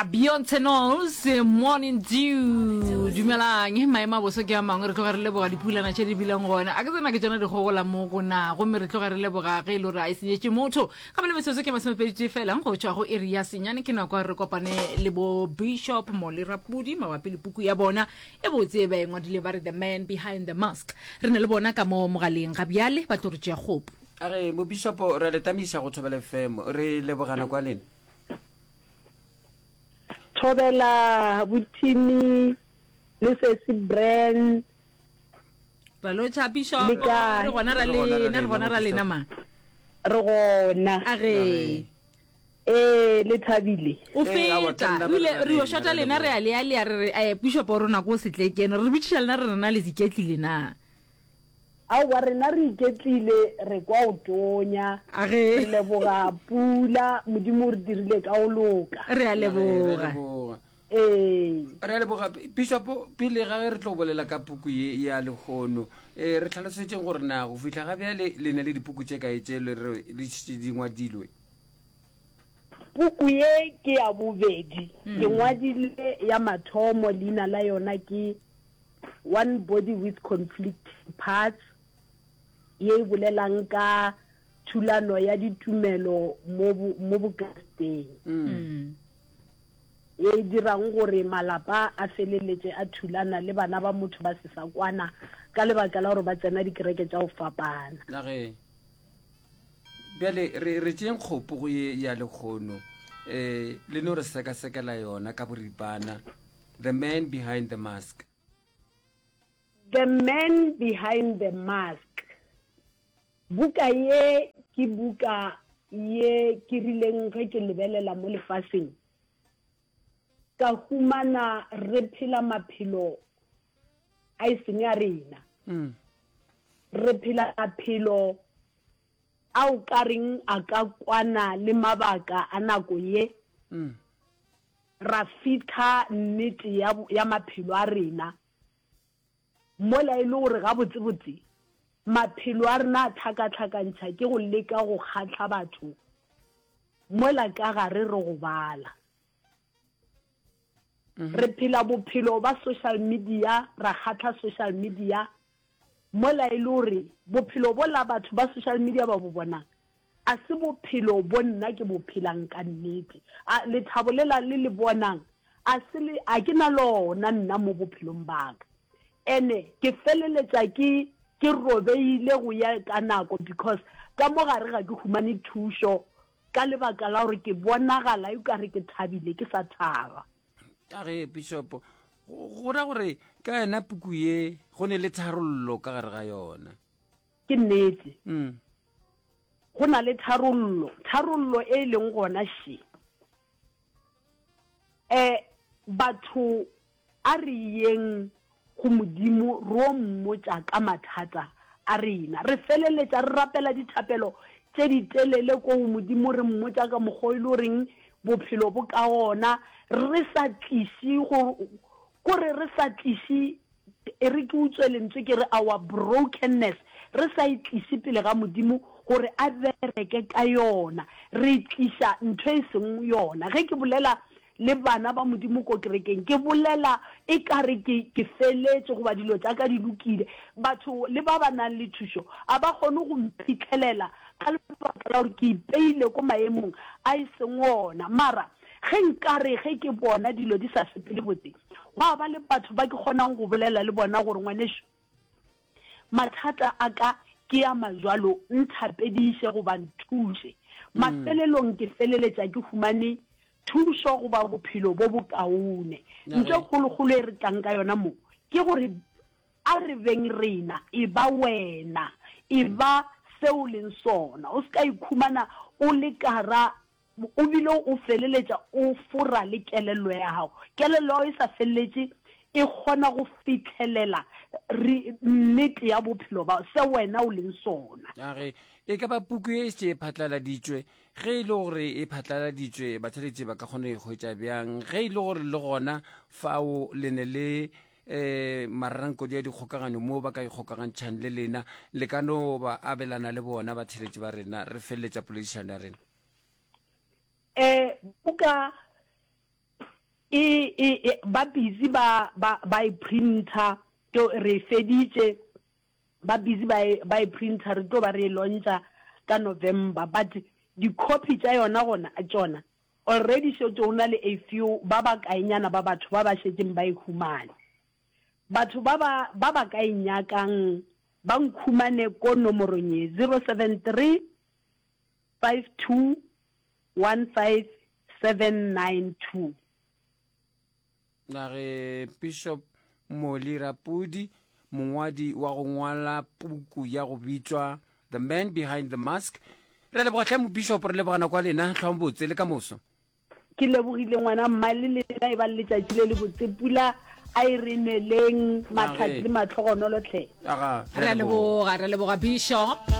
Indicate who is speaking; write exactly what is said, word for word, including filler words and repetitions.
Speaker 1: Beyonce Knowles, Morning Dew. Dumelang, maemo a boso ke a mangwe, re tloga re leboga dipulana tše di bileng gona. A ke tsena ke tšona dikgogola mo go na, gomme re tloga re leboga ge e le gore a e senyetše motho. Gape le metsotso ke masomepedi tee fela go tšwa go iri ya senyane, ke nako ya re kopane le bo Bishop Molly Rapudi mabapi le puku ya bona e botse e ba e ngwadile ba re The Man Behind the Mask. Re na le bona ka mo mogaleng ga bjale, ba tlo re tšea kgopo.
Speaker 2: A re mo Bishop, re a le tamiša go Thobela F M, re lebogana kwa lena.
Speaker 3: Thobela bothimi le sesi Bran.
Speaker 1: Ra lotšha Bishop.
Speaker 3: Le kae?
Speaker 1: Re gona ra
Speaker 2: Re gona ra
Speaker 1: lena, re
Speaker 2: lena,
Speaker 1: gona ra
Speaker 2: bo
Speaker 1: lena
Speaker 2: Bishop.
Speaker 1: ma.
Speaker 3: Re gona.
Speaker 1: A re.
Speaker 3: Ee, le thabile.
Speaker 1: O
Speaker 2: Ee, aowa,
Speaker 1: feta.
Speaker 2: tla nna
Speaker 1: O ile,
Speaker 2: re ra
Speaker 1: re yo
Speaker 2: lena,
Speaker 1: shota
Speaker 2: ra
Speaker 1: lena, re
Speaker 2: leboga.
Speaker 1: a lea lea, re re, eh, Bishop o rona ko setlekeno. Re bitšiša lena re rena le iketlile na?
Speaker 3: Aowa, rena re iketlile, re kwa o tonya.
Speaker 1: A ge.
Speaker 3: Re leboga pula, Modimo o re dirile ka go loka.
Speaker 1: Re a
Speaker 2: Re a
Speaker 1: leboga.
Speaker 2: leboga.
Speaker 3: Ee.
Speaker 2: Re a leboga. Bishop, pele ga ge re tlo bolela ka puku ye ya lehono, eh, re tlhalosetšeng gore na go fihla ga bjale le na le dipuku tše kae tše le re di šetše di ngwadilwe?
Speaker 3: Puku ye ke ya bobedi. Ke ngwadile ya mathomo, leina la yona ke One Body with Conflicting Parts, ye e bolelang ka thulano ya ditumelo mo bo, mo Bokristeng.
Speaker 1: Mm.
Speaker 3: Ye e dirang gore malapa a feleletše a thulana le bana ba motho ba se sa kwana ka lebaka la gore ba tsena dikereke tša go fapana.
Speaker 2: Na ge bjale re, re tšeeng kgopo go ye ya lekgono, eh, le no re sekasekela yona ka boripana, The Man Behind the Mask.
Speaker 3: The Man Behind the Mask. Buka ye ke buka ye ke rileng ge ke lebelela mo lefaseng, ka humana re phela maphelo a e seng a rena.
Speaker 2: Mm.
Speaker 3: Re phela maphelo ao ka reng a ka kwana le mabaka a nako ye.
Speaker 2: Mm.
Speaker 3: Ra fihla nnete ya, ya maphelo a rena. Mola e le gore gabotsebotse maphelo a rena a tlhakatlhakantšha ke go leka go kgahla batho, mola ka gare re gobala.
Speaker 2: Mm-hmm.
Speaker 3: Re phela bophelo ba social media, ra kgahla social media, mola e le gore bophelo bola batho ba social media ba bo bonang a se bophelo bo nna ke bo phelang ka nnete. A lethabo lela le le bonang a se le, a ke na lona nna mo bophelong ba ka. Ene ke feleletša ke, ke robeile go ya ka nako, because ka mo gare ga ke humane thušo ka lebaka la gore ke bonagala e ka re ke thabile ke sa thaba.
Speaker 2: Ka ge Bishop, go, go ra gore ka yena puku ye go ne le tharollo ka gare ga yona.
Speaker 3: Ke nnete.
Speaker 2: Mm.
Speaker 3: Go na le tharollo, tharollo e leng gona še. Eh, batho a re yeng go Modimo ro mmotša ka mathata a rena. Re feleletša re rapela dithapelo tše di telele ko go Modimo, re mmotša ka mokgwa o e le goreng bophelo bo ka gona, re sa tliše go, kore re sa tliše, e re ke utswe lentswe ke re our brokenness, re sa e tliše pele ga Modimo gore a bereke ka yona. Re tliša ntho e seng yona. Ge ke bolela le bana ba Modimo ko kerekeng, ke bolela e ka re ke, ke feletše goba dilo tša ka di lokile. Batho le ba ba nang le thušo a ba kgone go mphitlhelela ka lebaka la gore ke ipeile ko maemong a e seng ona. Mara ge nkare ge ke bona dilo di sa sepele botse, gwa ba le batho ba ke kgonang go bolela le bona gore ngwanešu, mathata a ka ke a majwalo, nthapediše goba nthuše. Mafelelong ke feleletša ke humane thušo goba bophelo bo bokaone.
Speaker 2: Na
Speaker 3: Ntho
Speaker 2: ge.
Speaker 3: kgolokgolo e re tlang ka yona mo ke gore a re beng rena, e ba wena, e ba seo leng sona. O se ka ikhumana o le kara, o bile o feleletša o fora le kelello ya gago. Kelello ya gago e sa feleletše e kgona go fitlhelela re nnete ya bophelo ba se wena o leng sona.
Speaker 2: A ge e ka ba puku e šetše e phatlaladitšwe, ge e le gore e phatlaladitšwe batheeletši ba ka kgona go e hwetša bjang? Ge e le gore le gona fao le ne le, eh, mararankodi a dikgokaganyo mo ba ka ikgokagantšhang le lena, le ka no ba abelana le bona batheeletši ba rena, re feleletša poledišano ya rena.
Speaker 3: Eh, buka E, e, e, ba busy ba, ba, ba e printer, to re e feditše, ba busy ba e, ba e printer, re tlo ba re e launcha ka November. But di-copy tša yona gona, tšona, already šetše go na le a few, ba bakaenyana ba batho ba ba šetšeng ba e humane. Batho ba ba, ba ba ka e nyakang, ba nkhumane ko nomorong ye, zero seven three, five two, one five, seven nine two.
Speaker 2: Na re Bishop Molly Rapudi, mongwadi wa go ngwala puku ya go bitšwa The Man Behind the Mask. Re a leboga hle Mobishop, re leboga nako ya lena, hlwang botse le ka moso.
Speaker 3: Ke lebogile ngwana mma, le lena e ba le letšatši le lebotse. Pula a e re neleng, mahlatse le mahlogonolo hle.
Speaker 2: Aga,
Speaker 1: Re a leboga, re a leboga Bishop.